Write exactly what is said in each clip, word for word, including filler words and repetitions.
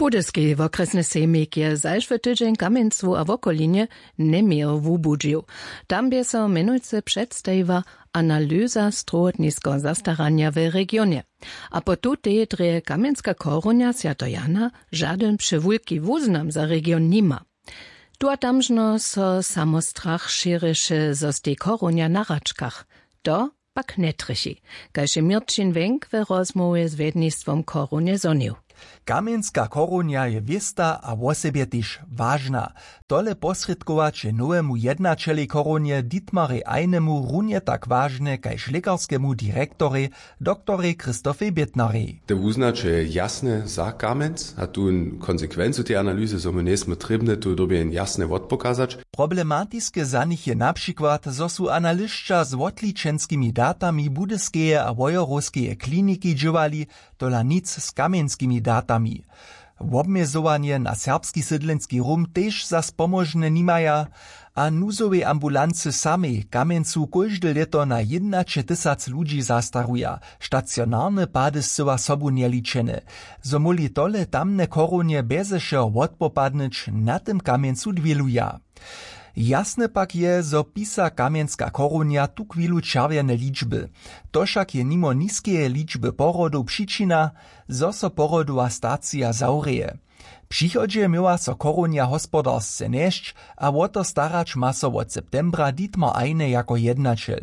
Budyski wokrjesny sejmik je zašły tydźeń w Kamjencu a wokolinje njeměło wubudźił. Tam bě so mjenujcy předstajiła analyza strowotniskeho zastaranja w regionje. A po tutej drje kamjenska chorunja Swjato Jana žadyn přewulki wuznam za region nima. Tu a tamžno so samo strach šěrješe zo z tej chorunja na hračkach. To pak njetrjechi, kaž je Měrćin Wenk w rozmołwje z wjednistwom chorunje zhonił. Kamjenska chorunja je wěsta a wosebje tež wažna. Tole posrědkować je nowemu jednaćelej chorunje Dietmarej Einemu runje tak wažne kaž lěkarskemu direktorej, doktorej Christofej Bětnarej. Te wuznaće je jasne za Kamjenc a tu konsekwencu tej analyzy zo my njejsmy trěbne tu dyrbje jen jasne wotpokazać. Problematiske za nich je na přikład zo su analyšća z wotličenskimi datami budyskeje a wojerowskeje kliniki dźěłali, tola nic z kamjenskimi datami. Wobmjezowanje na serbski sydlenski rum tež zas pomóžne nimaja. A nuzowej ambulancy samej w Kamjencu kóžde lěto na jědnaće tysac ludźi zastaruja, stacionarne pady scyła sobu njeličene. Zo móhli tole tamne chorownje bjeze wšeho wotpopadnyć, na tym Kamjencu dwěluja. Jasne pak je zo pisa kamjenska chorownja tuchwilu čerwjene ličby. To wšak je nimo niskeje ličby porodow přičina, zo so porodowa stacija zawrěje. W přichodźe měła so chorownja hospodarsce njesć, a wo to starać ma so wot septembra Dietmar Eine jako jednaćel.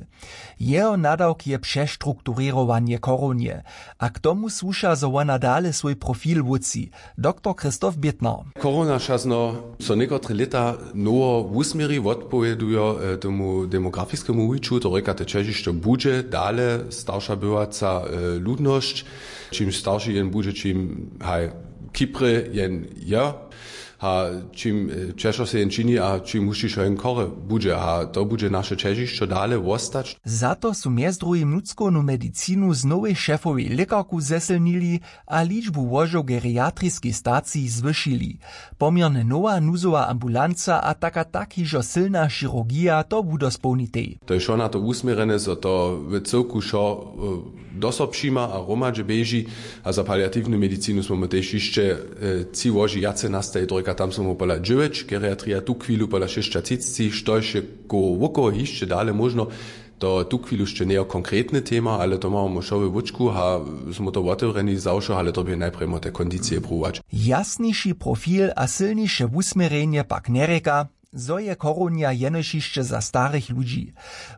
Jeho nadawk je přestrukturěrowanje chorownje, a k tomu słuša zo wona dale swój profil wótři. Doktor Christoph Bětner. Chorowna wšazno so někotre lěta nowo wusměri wotpowědujo tomu demografiskemu wuwiću to rěka te ćežišćo budźe dale starša bywaca ludnosć. Čimž starši jen budźe čim haj kiprje jen je, a čim ćežšo se jen čini a čim hušćišo jen chore budźe a to budźe naše ćežišćo dale wostać. Za to su mjez druhim nutřkownu medicinu z nowej šefowej lěkarku zesylnili, a ličbu łožow geriatriskich stacij zwyšili. Poměrnje nowa nuzowa ambulanca a tak a tak hižo sylna chirurgija to wudospołnitej. To je wšo na to wusměrjene zo to w cyłku wšo do so přijima a hromadźe běži. A za paliatiwnu medicinu smy my tež hišće tři łoži wjace nastajić to rěka tam smy my pola dźewjeć geriatrija tuchwilu pola šěsćatřicci štož je koło wokoło hišće dale móžno. To tuchwilu hišće njejo konkretny tema ale to mamy wšo we wóčku a smy to wotewrjeni za wšo ale to bě najprjemo te kondicije pruwować. Jasniši profil a sylniše wusměrjenje pak njerěka, zo je chorownja jenož hišće za starych ludźi.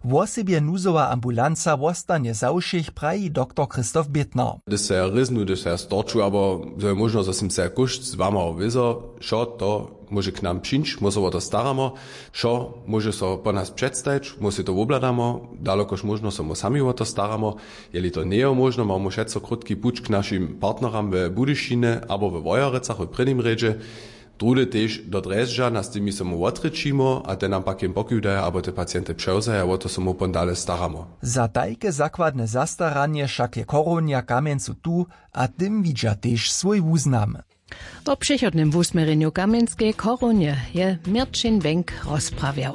Wosebje nuzowa ambulanca wostanje za wšěch, praji doktor Christoph Bětner. Hdyž se ja rěznu hdyž se ja storču abo zo je móžno zo sym se kóšt z wama wězo wšo to móže k nam přińć my so wo to staramo. Wšo móže so po nas předstajić my sej to wobhladamo, dalokož móžno so my sami wo to staramo. Jeli to njejo móžno mamy wšetco krótki puć k našim partneram we budyšinje abo we wojerecach w prěnim rjedźe. Druhdy tež do drježdźa na z tymi so my wotrěčimo a te nam pak jen pokiwdaja abo te pacienty přewzaja wo to so my pon dale staramo. Za tajke zakładne zastaranje wšak je chorownja w kamjencu tu, a tym widźa tež swój wuznam. Wo přechodnym wusměrjenju kamjenskej chorownje je měrćin wenk rozprawjał.